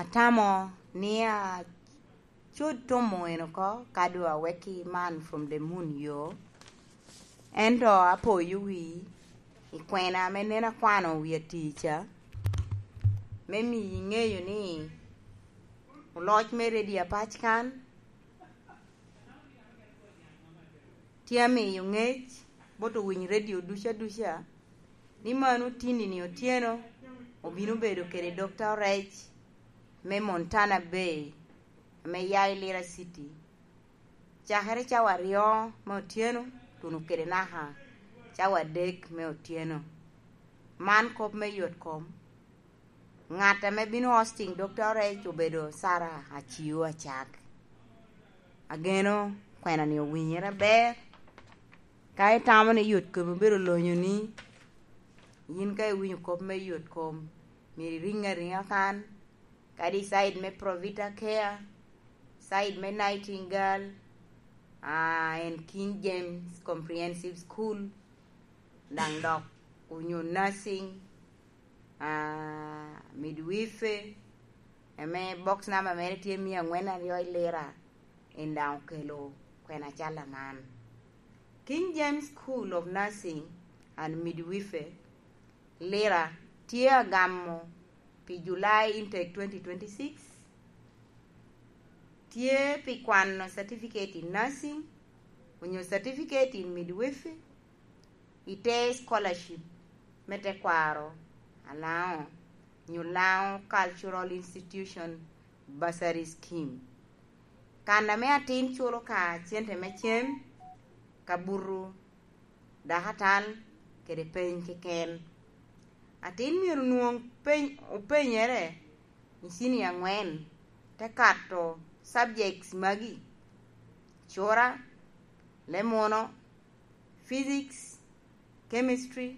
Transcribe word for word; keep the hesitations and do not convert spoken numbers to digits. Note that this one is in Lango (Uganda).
Atamo ni acod tomo en oko ka doŋ awekki man from the moon yo. Ento apoyo wi i kwena ame nen akwano wi atir ca, me miyi ŋeyo ni oloc me redio apac kan tye amiyo ŋec bot owiny redio duca duca ni mano tindi-ni otyeno obino bedo kede Dokta Orec me Montana Bay ame ya i Lira City, cakere cawa aryo me otyeno tuno kede naka cawa adek me otyeno. Man kop me yot kom. Ŋat ame bino hosting Dokta Orec obedo Sara Aciu Acak. Ageno kwena-ni owinyere aber. Ka itamo ni yot kom obedo lonyoni, yin ka iwinyo kop me yot kom, myero iriŋ ariŋa kan, kadi side me Provita Care, side me Nightingale, ah, and King James Comprehensive School, daŋ dok onyo nursing, ah, midwife, ame box number mere tye mia angwen aryo i Lira, en daŋ okelo kwena cal aman. King James School of Nursing and Midwife, Lira, tye agamo pi July intake twenty twenty-six, tye pi kwano certificate in nursing, onyo certificate in midwifery, i te scholarship me tekwaro Alaŋo, nyo Laŋo Cultural Institution Bursary Scheme. Kan ame atin culo ka cente me cem, kabuto, dakatal, kede peny keken. Atin myero nwoŋ peny, openyere i cini angwen, te kato subjects magi: cura, lemuno, physics, chemistry,